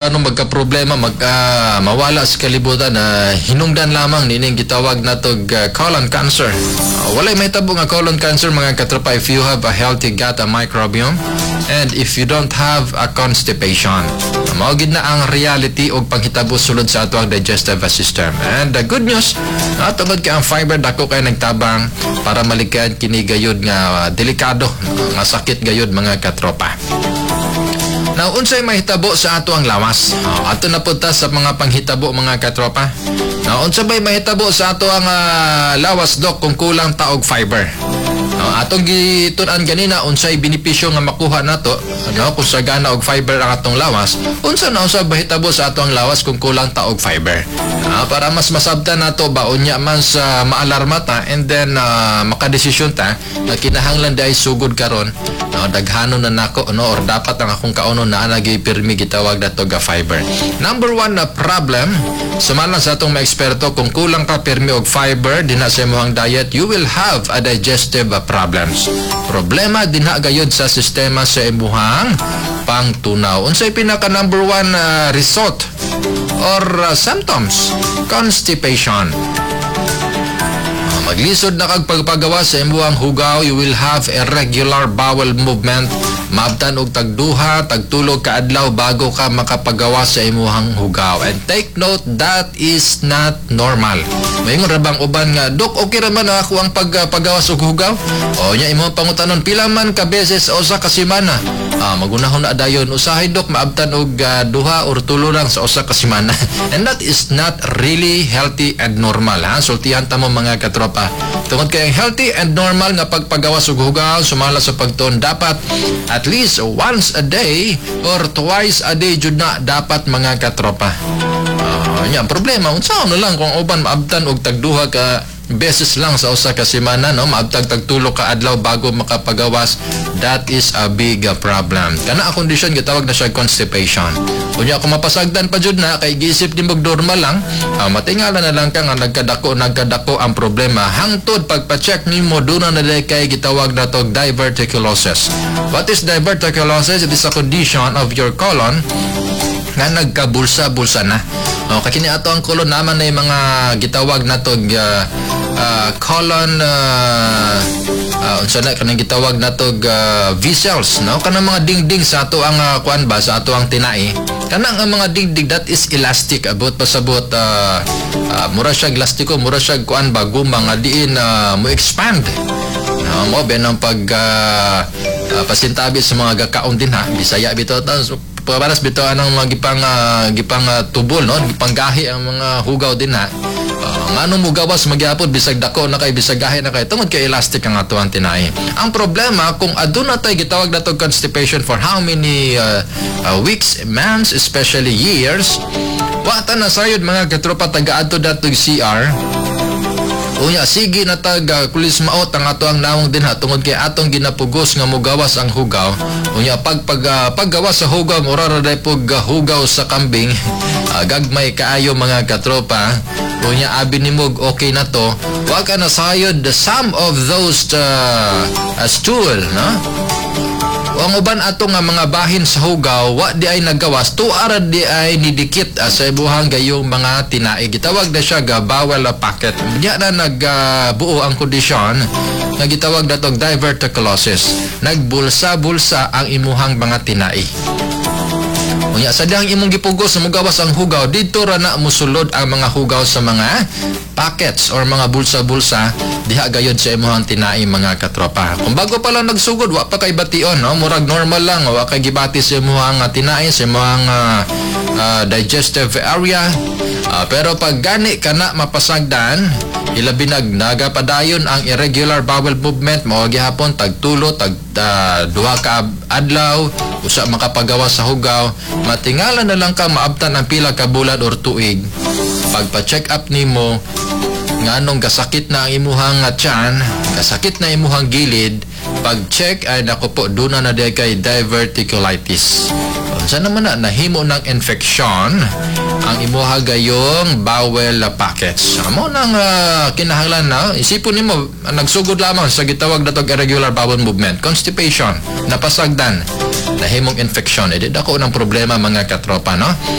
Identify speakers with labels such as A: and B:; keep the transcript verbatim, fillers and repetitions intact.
A: Ano magka-problema, mag ah, mawala sa kalibutan na hinungdan lamang nining gitawag natog uh, colon cancer. Uh, walay mahitabo nga colon cancer, mga katropa, if you have a healthy gut microbiome and if you don't have a constipation. Uh, mao gid na ang reality og panghitabo sulod sa ato ang digestive system. And the good news, uh, tungod kay ang fiber dako kay nagtabang para malikayan kini gayud nga uh, delikado nga sakit gayud, mga katropa. Now, unsay mahitabo sa ato ang lawas? Oh, ato na punta sa mga panghitabo, mga katropa. Now, unsa bay mahitabo sa ato ang ah, lawas, dok, kung kulang ta og fiber? No, atong gitun-an ganina unsay benepisyo nga makuha nato, no, kung sagana og fiber ang atong lawas. Unsa na unsa mahitabo sa ato ang lawas kung kulang ta og fiber? Ah, para mas masabtan nato ba, unya man sa maalarma ta and then ah, makadesisyon ta na kinahanglan diay sugod karon, no, daghanon na nako, no, or dapat ang akong kaunon na anagi pirmi gitawag nato ga fiber. Number one na problem, sumala sa atong mga eksperto, kung kulang ka pirmi og fiber dinha sa imong diet, you will have a digestive uh, problems. Problema dinha gayud sa sistema sa imuhang pangtunaw. Unsay pinaka number one uh, result or uh, symptoms? Constipation. Ah, Maglisod na kag pagpagawa sa imuhang hugaw, you will have irregular bowel movement. Maabtan og tagduha, tagtulo ka adlaw bago ka makapagawa sa imuhang hugaw. And take note, that is not normal. Maingon ra bang uban nga, "Dok, okay ra man ako ang pag, paggawas og hugaw?" O nya imong pangutanon, "Pila man ka beses sa usa ka semana?" Ah, magunahon na dayon, "Usahay, dok, maabtan og ah, duha or tulo lang sa usa ka semana." And that is not really healthy and normal, ha? Sultihan ta mo, mga katropa. Tungod kay ang healthy and normal nga pagpagawas og hugaw sumala sa pagtuon, dapat at least once a day or twice a day jud na dapat, mga katropa. Ah, nya problema, unsa na lang kung uban maabtan og tagduha ka beses lang sa usa ka semana, no, maabtag tagtulo ka adlaw bago makapagawas? That is a big uh, problem. Kana ang kondisyon gitawag na siya constipation. Unya kung mapasagdan pa jud na kay giisip nimo normal lang, uh, matingala na lang ka nga nagkadako nagkadako ang problema hangtod pagpa-check nimo, duna na diay kay gitawag na tog diverticulosis. What is diverticulosis? It is a condition of your colon nga nagkabulsa-bulsa na. O, kay kini ato ang colon naman na yung mga gitawag na to uh, uh, colon uh, uh, unsa na kanang gitawag na to uh, vessels, no, kanang mga dingding sa ato ang uh, kuan ba, sa ato ang tinai. Kanang ang mga dingding, that is elastic, abot pasabot uh, uh, mura siya elastiko, mura siya kuan ba, guma nga diin uh, mo expand. No, mo ben ang pag uh, uh, pasintabi sa mga gakaon din ha, Bisaya bitaw ta, pagkabalas bitaw anang mga gipang uh, gipang uh, tubol, no, gipang gahi ang mga hugaw din ha. Uh, ngano mo gawas magyapon bisag dako na kay, bisag gahi na kay, tungod kay elastic ang ato ang tinai. Ang problema kung aduna tay gitawag nato constipation for how many uh, uh, weeks, months, especially years, wa ta na sayod, mga katropa, taga-adto datog C R. Unya sige na tag uh, kulis maot ang ato ang nawong dinha tungod kay atong ginapugos nga mugawas ang hugaw. Unya pag pag uh, paggawas sa hugaw, mura ra day pug uh, hugaw sa kambing. Uh, gagmay kaayo, mga katropa. Unya abi nimo okay na to. Wa ka na sayod, the some of those uh, uh, stool, no? Ang uban ato nga mga bahin sa hugaw wa di ay nagawas, tuara di ay nidikit uh, sa ibuhang gayong mga tinai. Gitawag na siya ga bowel pocket. Diya na nagbuo ang kondisyon nga gitawag natog diverticulosis. Nagbulsa-bulsa ang imuhang mga tinai. Unya sa dihang imong gipugos sa mugawas ang hugaw, didto ra na musulod ang mga hugaw sa mga pockets or mga bulsa-bulsa diha gayod sa imuhang tinai, mga katropa. Kung bago pa lang nagsugod, wa pa kay bation, no? Murag normal lang, wa kay gibati sa imuhang uh, tinai, sa imuhang uh, uh, digestive area. Uh, pero pag gani ka na mapasagdan, ilabi nag nagapadayon ang irregular bowel movement, mao gihapon tagtulo, tag uh, duha ka adlaw usa makapagawa sa hugaw, matingala na lang ka maabtan ang pila ka bulan or tuig. Pagpa-check up nimo, nganong gasakit na ang imuhang tiyan, gasakit na imuhang gilid, pag-check ay nako po, duna na diay kay diverticulitis. Unsa naman na nahimo ng infection ang imuha gayong bowel pockets. Amo nang uh, kinahanglan na isipon nimo, nagsugod lamang sa gitawag natog irregular bowel movement, constipation, napasagdan. Nahimong infection, edi dako ng problema, mga katropa, no?